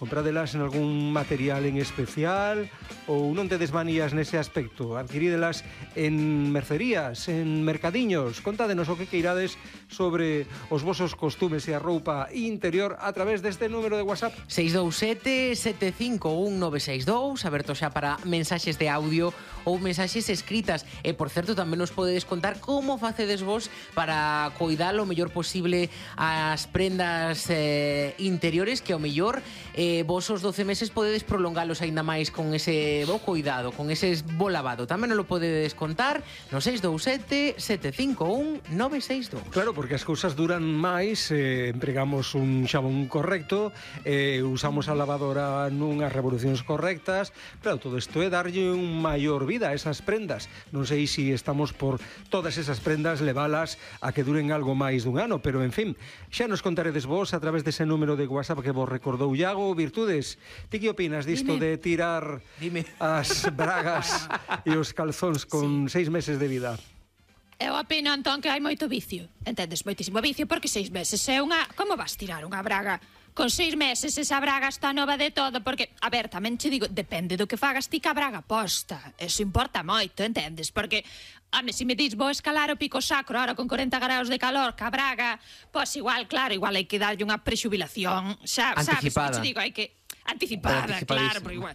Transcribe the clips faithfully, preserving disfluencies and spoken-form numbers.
Compradelas en algún material en especial ou non tedes manías nese aspecto? Adquirídelas en mercerías, en mercadiños? Contádenos o que queirades sobre os vosos costumes e a roupa interior a través deste número de WhatsApp. seis dous sete, sete cinco un, nove seis dous, aberto xa para mensaxes de audio ou mensaxes escritas. E, por certo, tamén nos podedes contar como facedes vos para coidar o mellor posible as prendas eh, interiores, que ao mellor eh, vos os doce meses podedes prolongalos aínda máis con ese bo cuidado, con ese bo lavado. Tamén nos lo podedes contar no seis dous sete, sete cinco un, nove seis dous. Claro, porque as cousas duran máis, eh, empregamos un xabón correcto, eh, usamos a lavadora nunhas revolucións correctas. Claro, todo isto é darlle un maior vida a esas prendas. Non sei se estamos por todas esas prendas levalas a que duren algo máis dun ano, pero en fin, xa nos contaredes vos a través dese número de WhatsApp que vos recordou Iago. Virtudes, ti que opinas disto Dime. de tirar Dime. as bragas e os calzóns con sí. seis meses de vida? Eu opino, Antón, que hai moito vicio. Entendes? Moitísimo vicio, porque seis meses é unha... Como vas tirar unha braga? Con seis meses esa braga está nova de todo, porque, a ver, tamén che digo, depende do que fagas ti ca braga posta. Eso importa moito, entendes? Porque, home, se me dis vou escalar o pico sacro ahora con corenta graus de calor ca braga, pois igual, claro, igual hai que darlle unha prexubilación, xa, Anticipada. sabes? Te digo, hai que... Anticipada, claro, pero igual...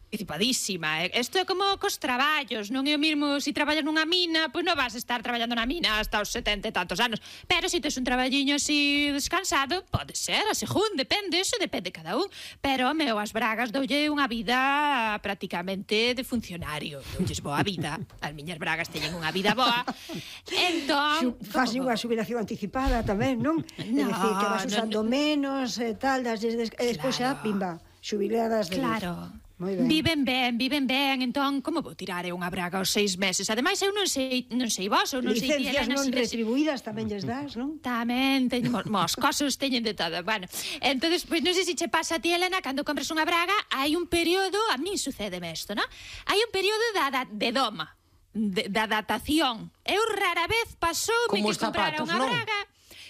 Anticipadísima. Isto é como cos traballos, non é o mesmo se traballas nunha mina, pois non vas a estar traballando na mina hasta os setenta e tantos anos, pero se tes un traballiño así descansado, pode ser, a según, depende, eso depende cada un, pero, meu, as bragas doulle unha vida prácticamente de funcionario, doulles boa vida, as miñas bragas teñen unha vida boa, entón... Faz unha xubilación anticipada tamén, non? É No, dicir, que vas no, usando no. menos e tal, das, des, des, e despois xa, Claro. pimba, xubiladas de Claro. Moi ben. Viven ben, viven ben, entón como vou tirar eu unha braga aos seis meses? Ademais, eu non sei, non sei vos, ou non sei ti, Licencias Elena, non se des- retribuídas tamén lles das, non? Tamén, teñen mos cosos, teñen de todo. Bueno, entonces, pois non sei se che pasa a ti, Elena, cando compras unha braga, hai un período, a min sucédeme isto, non? Hai un período da, da, de doma, de, da datación. Eu rara vez pasoume Como que os comprara zapatos, unha non? braga.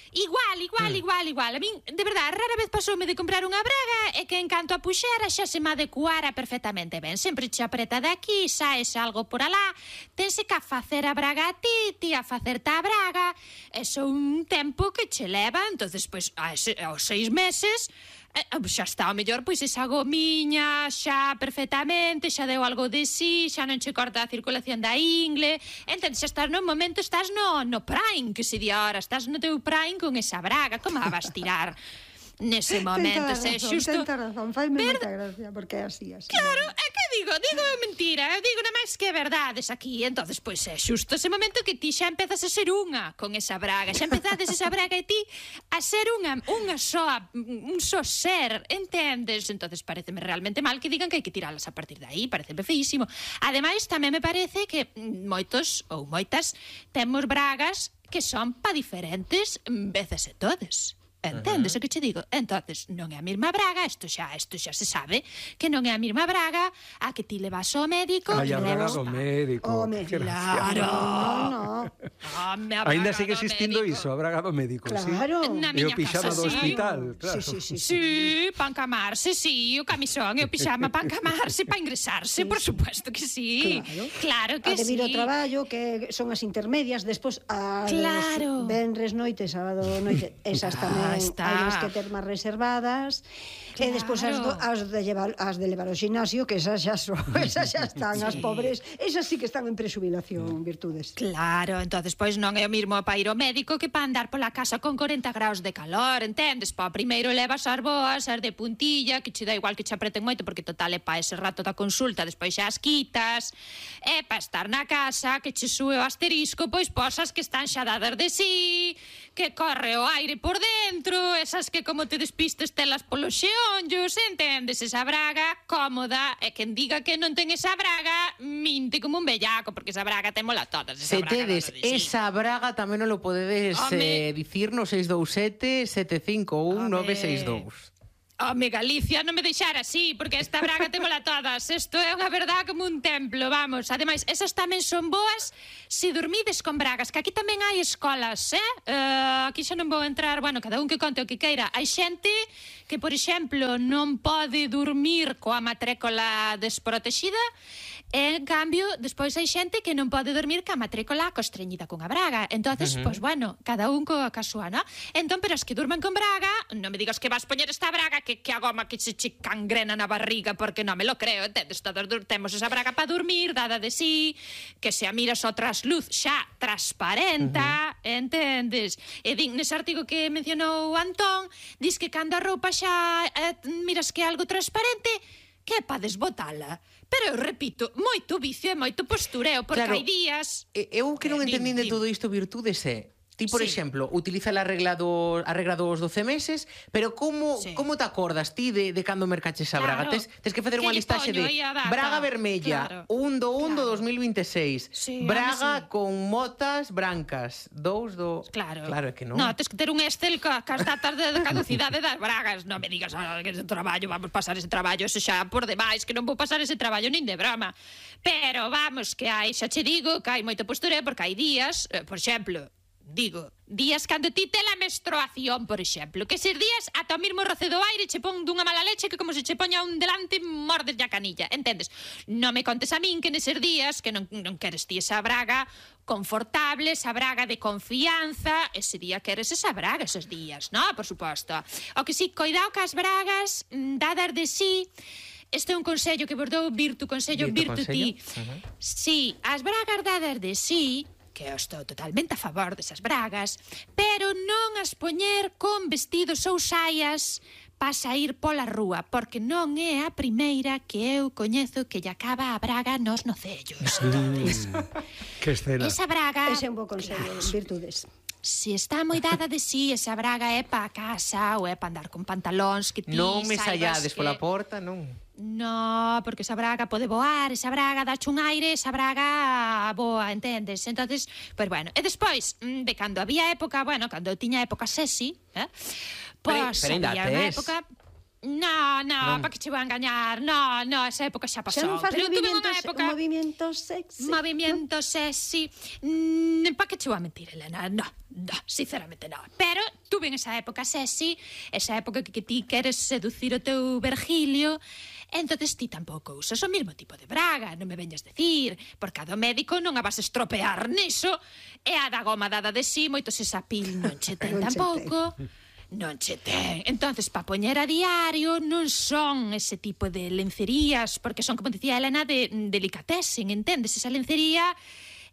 Igual, igual, Mm. igual, igual. A min, de verdade, rara vez pasoume de comprar unha braga e que en canto a puxera xa se me adecuara perfectamente ben. Sempre che apreta de aquí, saes algo por alá, tense que a facer a braga a ti, ti a facerte a braga. Eso un tempo que che leva, entonces, pois, a ese, aos seis meses... Eh, xa está, ao mellor, pois esa gomiña xa perfectamente, xa deu algo de sí, xa non che corta a circulación da ingle, entendes, xa estás no momento, estás no, no prime, que se di ahora, estás no teu prime con esa braga, como a vas tirar nese momento, se é xusto... Tenta razón, faime moita gracia, porque é así, así. Claro, é que digo, digo é mentira, eu digo nada máis que verdades aquí, entonces pois é xusto ese momento que ti xa empezas a ser unha con esa braga, xa empezades esa braga e ti a ser unha, unha soa, un só ser, entendes? Entonces pareceme realmente mal que digan que hai que tiralas a partir de aí, pareceme feísimo. Ademais, tamén me parece que moitos ou moitas temos bragas que son pa diferentes veces e todes. Entendes o que che digo? Entonces, non é a mesma braga, isto xa, isto xa se sabe, que non é a mesma braga a que ti levas ao médico. Ai, a braga levas- do médico. Home, Que Claro. No, no. Home, a Ainda braga sigue do existindo médico. iso, a braga do médico, sí? Claro. Na E o miña pixama casa, do sí. hospital, claro. Sí, sí, sí. Sí, pa encamarse, sí, o camisón e o pixama pa encamarse, pa ingresarse, por supuesto que sí. Claro. Claro que A de vir sí. ao traballo, que son as intermedias, despois a Claro. venres noite, sábado noite, esas Ah, tamén está. hai que ter máis reservadas. E despois as, do, as, de llevar, as de levar ao gimnasio, que esas xa son, esas xa están, as pobres, esas sí que están en presubilación, Virtudes. Claro, entonces pois non é o mesmo para ir ao médico que para andar pola casa con corenta graus de calor, entendes? Pa primeiro levas as boas, as de puntilla, que che dá igual que che apreten moito, porque total é pa ese rato da consulta, despois xa as quitas, e pa estar na casa, que che sube o asterisco, pois posas que están xa dadas de sí, que corre o aire por dentro, esas que como te despistes telas polos xeonllos, entendes? Esa braga cómoda, e quen diga que non ten esa braga, minte como un bellaco, porque esa braga témola todas. Esa Se braga tedes dada de sí. esa braga tamén non lo podedes Home. eh, dicir no seis dous sete, sete cinco un, nove seis dous. Home, Galicia, non me deixara así, porque esta braga témola todas. Isto é unha verdade como un templo, vamos. Ademais, esas tamén son boas se dormides con bragas, que aquí tamén hai escolas, eh? Uh, aquí xa non vou entrar, bueno, cada un que conte o que queira. Hai xente que, por exemplo, non pode dormir coa matrícula desprotexida, e, en cambio, despois hai xente que non pode dormir ca matrícula costreñida cunha braga. Entonces, uh -huh. pois, bueno, cada un coa súa, ¿no? Entón, pero as que durman con braga, non me digas que vas poñer esta braga que, que a goma que se che cangrena na barriga, porque non me lo creo, entendes? Todos temos esa braga para dormir, dada de sí, que se a miras o trasluz xa transparenta, uh -huh. entendes? E din, nese artigo que mencionou Antón, dis que cando a roupa xa eh, miras que é algo transparente, que é para desbotala. Pero eu repito, moito vicio e moito postureo, porque claro, hai días... Eu que non eh, entendín de dim, todo isto virtudes é... Ti, por Sí. exemplo, utiliza a regla, do, a regla dos doce meses, pero como, Sí. como te acordas ti de, de cando mercaches a braga? Claro. Tes, tes que facer Que unha lle listaxe poño de aí a data? braga vermella, Claro. un do un do Claro. dos mil veintiséis, Sí, braga home, sí. con motas brancas, dous do... Claro. Claro, é que non. No, tes que ter un Excel ca, cas datas de, de caducidade das bragas. Non me digas, ah, que ese traballo, vamos pasar ese traballo, ese xa por demais, que non vou pasar ese traballo nin de broma. Pero vamos, que hai, xa che digo, que hai moito postureo, porque hai días, eh, por exemplo, digo, días cando ti te la menstruación, por exemplo, que eses días ata o mismo roce do aire che pon dunha mala leche que como se che poña un delante mordes a canilla, entendes? Non me contes a min que neses días que non, non queres ti esa braga confortable, esa braga de confianza, ese día queres esa braga esos días, no? Por suposto. O que si, coidado que as bragas dadas de sí. Este é un consello que vos dou, Virtu, consello Virtu, Virtu ti. consello? Uh-huh. Si, as bragas dadas de sí, que eu estou totalmente a favor desas bragas, pero non as poñer con vestidos ou saias para sair pola rúa, porque non é a primeira que eu coñezo que lle acaba a braga nos nocellos. Entonces, Que escena. esa braga... Ese é un bo consello, virtudes. Se está moi dada de sí, esa braga é para casa ou é para andar con pantalóns que ti Non me saibas sallades que... pola porta, non. No, porque esa braga pode voar, esa braga dache un aire, esa braga boa, entendes? Entonces, pues bueno, e despois, de cando había época, bueno, cando eu tiña época sexy, eh? Pois pero ainda había unha tes. época... No, no, Non. para que che vou a engañar? No, no, esa época xa pasou. Xa non faz Pero eu tuve unha movimentos, época... movimentos sexy. Movimiento sexy. Mm, para que che vou a mentir, Elena? No, no, sinceramente no. Pero tuve en esa época sexy, esa época que, que ti queres seducir o teu Virgilio, entonces ti tampouco usas o mesmo tipo de braga, non me veñas decir, porque a do médico non a vas estropear niso, e a da goma dada de sí, moitos esa pil non che ten Non che tampouco. Non che ten. Entonces, para poñer a diario non son ese tipo de lencerías, porque son, como dicía Elena, de delicatessen, entendes? Esa lencería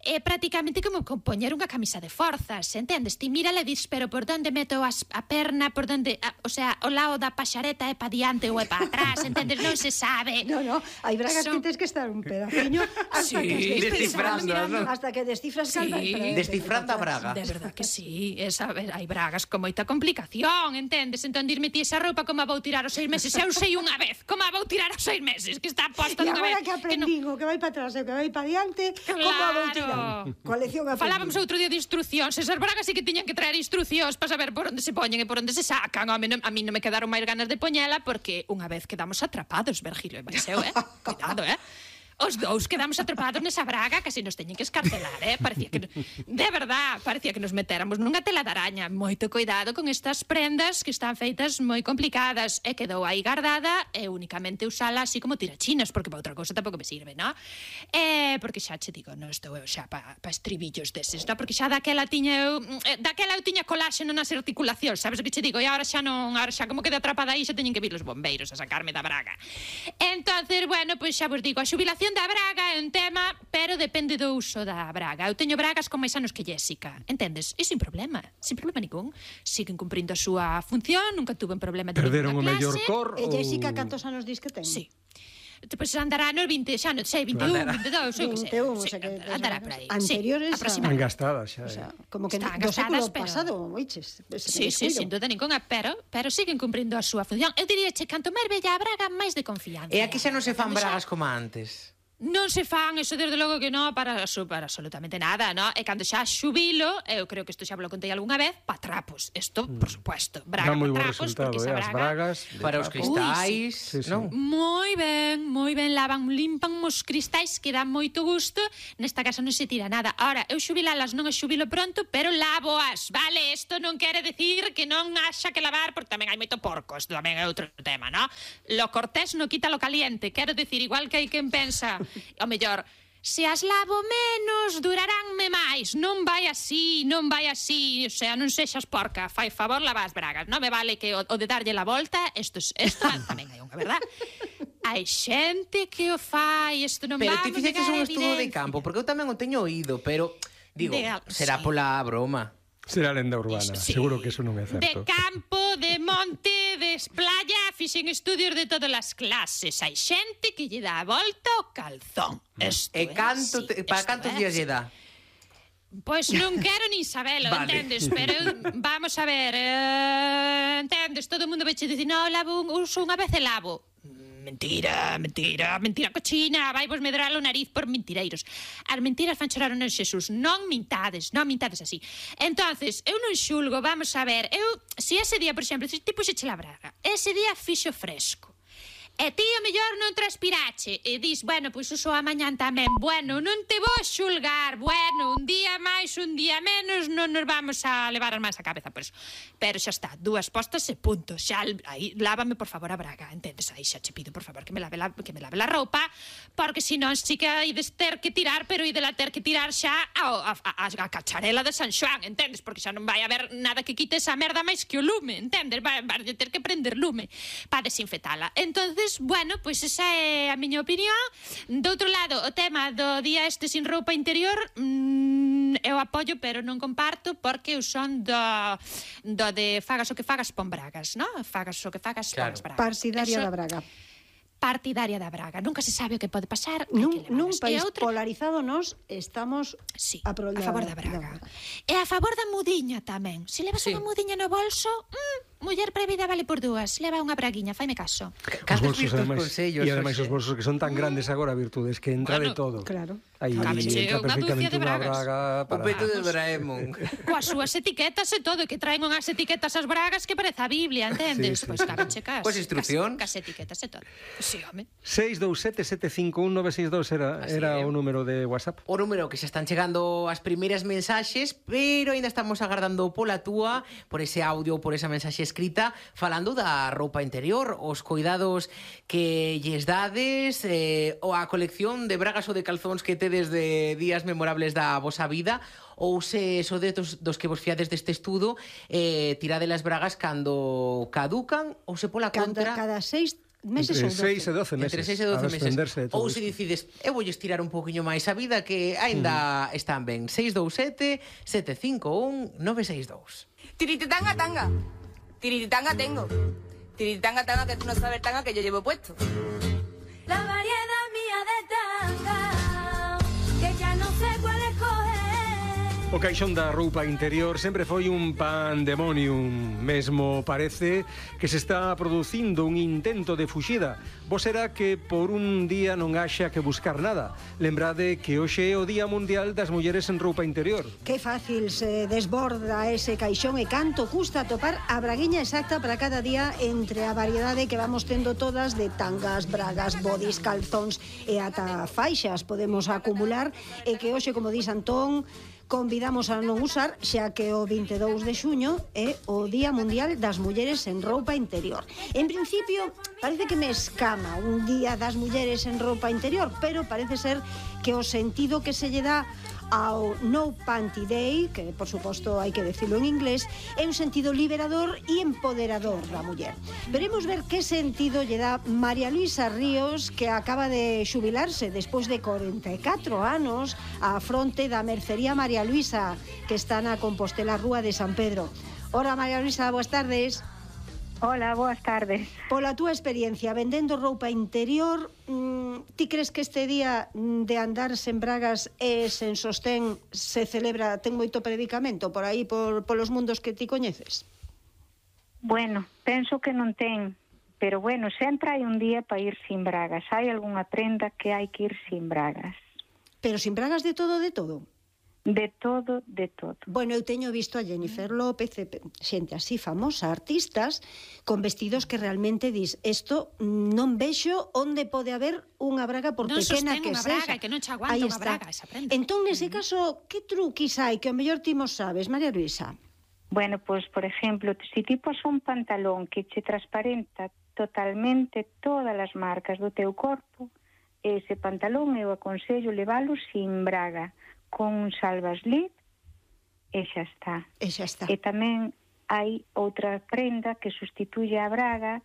é prácticamente como poñer unha camisa de forzas, entendes? Ti mira e dis, pero por onde meto as, a perna, por onde, a, o sea, o lado da paxareta é pa diante ou é pa atrás, entendes? Non se sabe. No, no, hai bragas Son- que tens que estar un pedaciño hasta Sí, que estés descifrando, pensando, ¿no? hasta que descifras Sí. calda. Descifrando a braga. De verdad que sí, esa, hai bragas con moita complicación, entendes? Entón dirme ti esa roupa como a vou tirar aos seis meses, eu sei unha vez como a vou tirar aos seis meses, que está posta E dunha agora vez. que aprendín o que vai para atrás e o que vai para diante, como a vou tirar? Coa lección aprendida. Falábamos outro día de instruccións. Esas bragas sí que tiñan que traer instruccións para saber por onde se poñen e por onde se sacan. Home, non, a mí non me quedaron máis ganas de poñela porque unha vez quedamos atrapados, Virgilio e Mariseu, eh? Cuidado, eh? Os dous quedamos atrapados nesa braga, casi nos teñen que escarcelar, eh? Parecía que, de verdad, parecía que nos metéramos nunha tela de araña. Moito cuidado con estas prendas que están feitas moi complicadas. E quedou aí guardada e únicamente usala así como tirachinas, porque para outra cousa tampouco me sirve, non? Eh, porque xa che digo, non estou eu xa pa, pa estribillos deses, non? Porque xa daquela tiña eu, eh, daquela eu tiña coláxeno nas articulacións, sabes o que che digo? E agora xa non, agora xa como quedé atrapada aí, xa teñen que vir os bombeiros a sacarme da braga. Entonces, bueno, pois xa vos digo, a xubilación da braga é un tema, pero depende do uso da braga. Eu teño bragas con máis anos que Jéssica, entendes? E sin problema, sin problema ningún. Siguen cumprindo a súa función, nunca tuve un problema de Perderon o ninguna mellor clase. cor E ou... Jessica, cantos anos dis que ten? Sí. Pois andará nos vinte, xa non sei, vinte e un, vinte e dous, eu que sei. vinte e un, o Sí, sea que andará por aí. anteriores sí, a- aproximadamente. Engastadas xa. O sea, eh. como que Están do século gastadas, pero- pasado, oiches. Sí, sí, sin duda ninguna, pero pero siguen cumprindo a súa función. Eu diría che, canto máis bella a braga, máis de confianza. E aquí xa non se fan Cando xa- bragas como antes. Non se fan, eso desde logo que non, para, para absolutamente nada, no? E cando xa xubilo, eu creo que isto xa lo contei algunha vez, pa trapos, isto, por supuesto, braga Dá moi bo pa trapos, resultado, porque eh, esa as braga... bragas Para os cristais, Sí, sí. non? Moi ben, moi ben, lavan, limpan os cristais que dan moito gusto. Nesta casa non se tira nada. Ahora, eu xubilalas non as xubilo pronto, pero lavoas, vale? Isto non quere decir que non haxa que lavar, porque tamén hai moito porco, isto tamén é outro tema, no? Lo cortés no quita lo caliente, quero decir, igual que hai quen pensa, o mellor, se as lavo menos, duraránme máis. Non vai así, non vai así. O sea, non sexas porca. Fai favor, lava as bragas. Non me vale que o, o de darlle la volta, isto, isto tamén hai unha, verdad? Hai xente que o fai, isto non Pero vamos ti fixeches negar un a estudo de evidencia. campo, porque eu tamén o teño oído, pero, digo, De- será sí. pola broma. Será lenda urbana, Sí. seguro que eso non é De certo. campo, de monte, de playa, fixen estudios de todas as clases. Hai xente que lle dá a volta ao calzón. Esto E é canto, así, te, para esto cantos é días así. lle dá? Pois non quero nin sabelo, Vale. entendes? Pero vamos a ver, eh, entendes? Todo o mundo veche dicir, no, lavo un, uso unha vez e lavo. Mentira, mentira, mentira cochina, vai vos medrar o nariz por mentireiros. As mentiras fan chorar o neno Xesús, non mintades, non mintades así. Entonces, eu non xulgo, vamos a ver, eu, se ese día, por exemplo, se ti puxeche la braga, ese día fixo fresco, e ti o mellor non transpirache e dis, bueno, pois uso a mañán tamén. Bueno, non te vou xulgar. Bueno, un día máis, un día menos, non nos vamos a levar as mans a cabeza por eso. Pero xa está, dúas postas e punto. Xa, aí, lávame por favor a braga, entendes? Aí xa che pido por favor que me lave la, que me lave la roupa, porque senón si que ides ter que tirar, pero idela ter que tirar xa a, a, a, a cacharela de San Xoán, entendes? Porque xa non vai haber nada que quite esa merda máis que o lume, entendes? Vai, vai ter que prender lume para desinfetala. Entonces, bueno, pois esa é a miña opinión. Do outro lado, o tema do día este sin roupa interior, mmm, eu apoio, pero non comparto, porque eu son do, do de fagas o que fagas, pon bragas, non? Fagas o que fagas, Claro. pon as bragas. Partidaria Eso- da braga. Partidaria da braga. Nunca se sabe o que pode pasar. hai Nun, que nun levalas. país E outra- polarizado nos estamos Sí, a, pro- a favor da braga. E a favor da mudiña tamén. Se levas Sí. unha mudiña no bolso, mm, muller previda vale por dúas. Leva unha braguiña, faime caso. Os Cantos bolsos, vistos ademais, consellos, e ademais Xosé? os bolsos que son tan grandes agora, virtudes, que entra de Bueno, todo. claro. Aí Cábese entra unha perfectamente dúcia de unha bragas. braga O para... peto de Doraemon. Coas súas etiquetas e todo, que traen unhas etiquetas as bragas que parece a Biblia, entendes? Sí, sí, Pois sí. caben checas. Coas instruccións. Cas etiquetas e todo. Sí, home. seis dous sete sete cinco un nove seis dous era, Así era é. o número de WhatsApp. O número que xa están chegando as primeiras mensaxes, pero ainda estamos agardando pola túa, por ese audio, por esa mensaxe escrita, falando da roupa interior, os cuidados que lles dades, eh, ou a colección de bragas ou de calzóns que tedes de días memorables da vosa vida, ou se sodes dos, dos que vos fiades deste estudo, eh, tirade las bragas cando caducan, ou se pola Cada, contra... cada seis meses Entre ou doce. seis e doce meses. Entre seis e doce a meses. desprenderse de todo Ou se isto. decides, eu vou estirar un poquinho máis a vida que aínda están ben. seis dous sete sete cinco un nove seis dous. Tirititanga tanga. Tirititanga tengo. Tirititanga tanga que tú no sabes tanga que yo llevo puesto. La variedad mía de tanga, que ya no sé cuál escoger. O caixón da roupa interior sempre foi un pandemonium. Mesmo parece que se está producindo un intento de fuxida. Vos será que por un día non haxa que buscar nada. Lembrade que hoxe é o Día Mundial das Mulleres en Roupa Interior. Que fácil se desborda ese caixón e canto custa topar a braguiña exacta para cada día entre a variedade que vamos tendo todas de tangas, bragas, bodys, calzóns e ata faixas podemos acumular e que hoxe, como dis Antón, convidamos a non usar, xa que o vinte e dous de xuño é o Día Mundial das Mulleres en Roupa Interior. En principio, parece que me escama un Día das Mulleres en Roupa Interior, pero parece ser que o sentido que se lle dá ao No Panty Day, que por suposto hai que decirlo en inglés, é un sentido liberador e empoderador da muller. Veremos ver que sentido lle dá María Luisa Ríos, que acaba de xubilarse despois de corenta e catro anos á fronte da mercería María Luisa, que está na Compostela Rúa de San Pedro. Ora, María Luisa, boas tardes. Hola, boas tardes. Pola túa experiencia vendendo roupa interior, mmm, ti crees que este día de andar sen bragas e sen sostén se celebra, ten moito predicamento por aí, por polos mundos que ti coñeces? Bueno, penso que non ten, pero bueno, sempre hai un día para ir sin bragas. Hai algunha prenda que hai que ir sin bragas. Pero sin bragas de todo, de todo? De todo, de todo. Bueno, eu teño visto a Jennifer López, xente así famosa, artistas, con vestidos que realmente dis, isto non vexo onde pode haber unha braga por non pequena sostén que unha sexa. braga, que non che aguanta Aí unha está. braga, esa prenda. Entón, nese caso, que truquis hai que ao mellor ti mo sabes, María Luisa? Bueno, pois, por exemplo, se ti pos un pantalón que che transparenta totalmente todas as marcas do teu corpo, ese pantalón eu aconsello levalo sin braga, con un salvaslid, e xa está. E xa está. E tamén hai outra prenda que sustituye a braga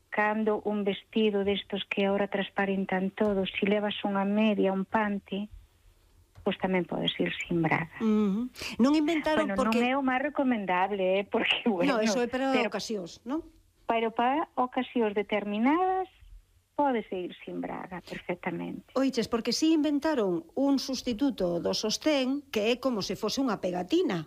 cando un vestido destos que agora transparentan todo, se levas unha media, un pante, pois tamén podes ir sin braga. Uh -huh. Non inventaron bueno, porque... non é o máis recomendable, eh, porque, bueno... No, eso é para pero, ocasións, non? Pero para ocasións determinadas podes ir sin braga perfectamente. Oiches, porque si inventaron un sustituto do sostén que é como se fose unha pegatina.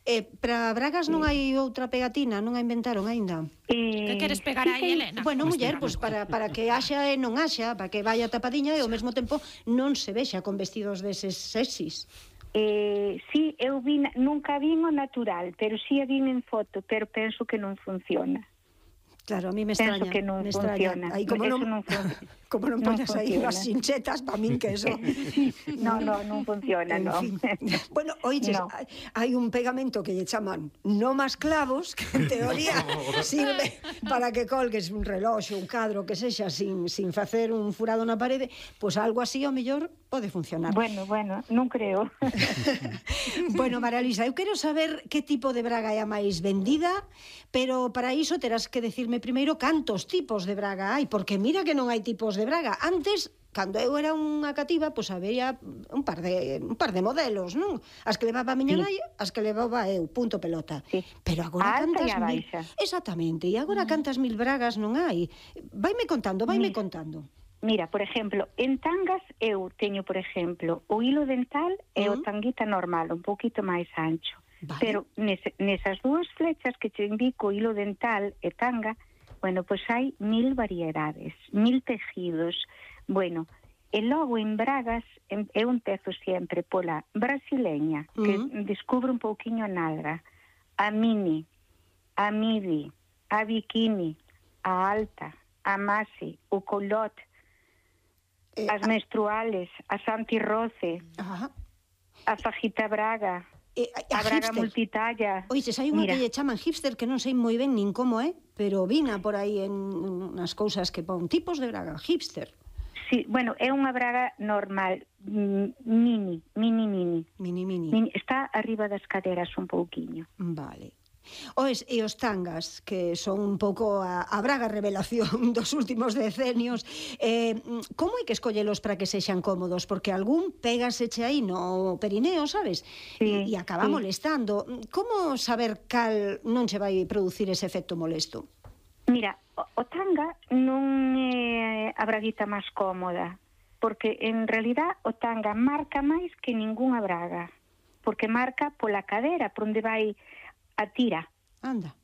Eh, para bragas non hai outra pegatina, non a inventaron aínda. Eh, Que queres pegar aí, Elena? Bueno, muller, pois para, para que haxa e non haxa, para que vaya tapadiña e ao mesmo tempo non se vexa con vestidos deses sexys. Eh, sí, eu vi, nunca vin o natural, pero sí a vin en foto, pero penso que non funciona. Claro, a mí me Penso extraña. que non me funciona. Aí, como Eso non, non funciona. como non Non poñas aí funciona. as chinchetas, para min que eso... No, no, non funciona, En no. fin. Bueno, oiches, No. hai, hai un pegamento que lle chaman no más clavos, que en teoría sirve para que colgues un reloxo, un cadro, que sexa sin, sin facer un furado na parede, pois pues algo así, ao mellor, pode funcionar. Bueno, bueno, non creo. Bueno, María Luisa, eu quero saber que tipo de braga é a máis vendida, pero para iso terás que decirme primeiro cantos tipos de braga hai, porque mira que non hai tipos de braga. Antes, cando eu era unha cativa, pois había un par de un par de modelos, non? As que levaba a miña Sí. nai, as que levaba eu, punto pelota. Sí. Pero agora A alta cantas e a mil... baixa. Exactamente, e agora cantas mil bragas non hai. Vaime contando, vaime Mira. contando. Mira, por exemplo, en tangas eu teño, por exemplo, o hilo dental e o Mm. tanguita normal, un poquito máis ancho. Vale. Pero nese, nesas dúas flechas que te indico, hilo dental e tanga, bueno, pois hai mil variedades, mil tejidos. Bueno, e logo en bragas em- eu empezo sempre pola brasileña, que Mm. descubro un pouquiño a nalga, a mini, a midi, a bikini, a alta, a maxi, o colot, Eh, as menstruales, as antirroce, Ajá. a fajita braga, Eh, a braga hipster. multitalla. Oiches, hai unha Mira. que lle chaman hipster que non sei moi ben nin como é, pero vina por aí en nas cousas que pon tipos de braga, hipster. Sí, bueno, é unha braga normal, mm, mini, mini, mini. Mini, mini. Mini, está arriba das caderas un pouquiño. Vale. Oes, e os tangas, que son un pouco a, a braga revelación dos últimos decenios, eh, como hai que escollelos para que sexan cómodos? Porque algún pégaseche aí no perineo, sabes? Sí, e acaba sí. molestando. Como saber cal non che vai producir ese efecto molesto? Mira, o, o tanga non é a braguita máis cómoda, porque en realidad o tanga marca máis que ningunha braga, porque marca pola cadera, por onde vai a tira. Anda.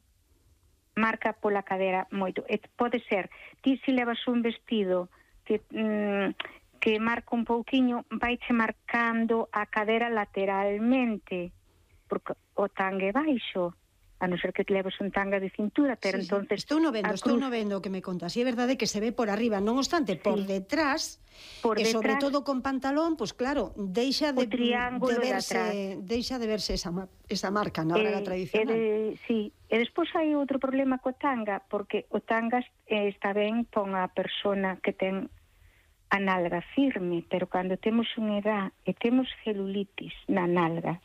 Marca pola cadera moito. E pode ser, ti se levas un vestido que mm, que marca un pouquiño, vaiche marcando a cadera lateralmente, porque o tanga é baixo, a non ser que te leves un tanga de cintura, pero Sí, sí. entonces Estou no vendo, a estou cruz- no vendo o que me contas. E é verdade que se ve por arriba, non obstante, por Sí. detrás, Por e sobre detrás- todo con pantalón, pois pues claro, deixa de, O triángulo de de verse, atrás. deixa de verse esa, ma- esa marca na braga Eh, tradicional. E de, sí, e despois hai outro problema co tanga, porque o tanga eh, está ben pon a persona que ten a nalga firme, pero cando temos unha edad e temos celulitis na nalga,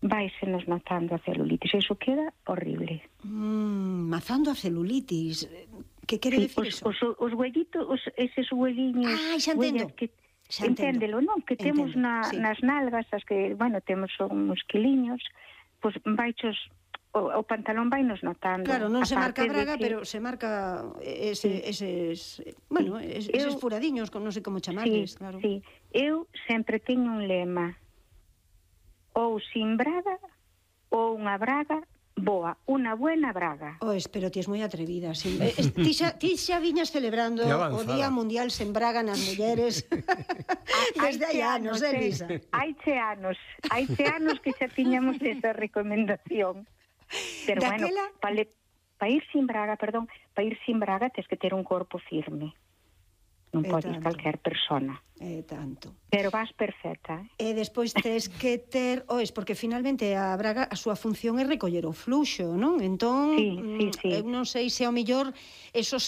vaise nos notando a celulitis, e iso queda horrible. Mm, mazando a celulitis. Que quere Sí, decir os, eso? os, os huellitos, os, eses hueliños, Ah, xa entendo. huellas que Xa entendo. enténdelo, non? Que temos Entendo, na, sí. nas nalgas, as que, bueno, temos uns quiliños, pois vaichos, o, o pantalón vai nos notando. Claro, non se marca Aparte de braga, que- pero se marca ese, eses, bueno, es, eses Eu- furadiños, con non sei como chamarles, Sí, claro. sí. Eu sempre teño un lema, ou sin braga, ou unha braga boa, unha buena braga. Ois, pero ti es moi atrevida. Sí. Eh, es- ti, xa, ti xa viñas celebrando Que o avanzada. Día Mundial sen braga nas mulleres desde hai anos, eh, Elisa? Haiche anos, haiche anos que xa tiñamos esa recomendación. Pero bueno, Daquela- para pa ir sin braga, perdón, para ir sin braga tes que ter un corpo firme. Non E pode ir tanto. calquer persona. Eh, tanto. Pero vas perfecta, eh? E despois tes que ter, ois, porque finalmente a braga a súa función é recoller o fluxo, non? Entón, Sí, sí, mm, sí. eu non sei se ao millor eso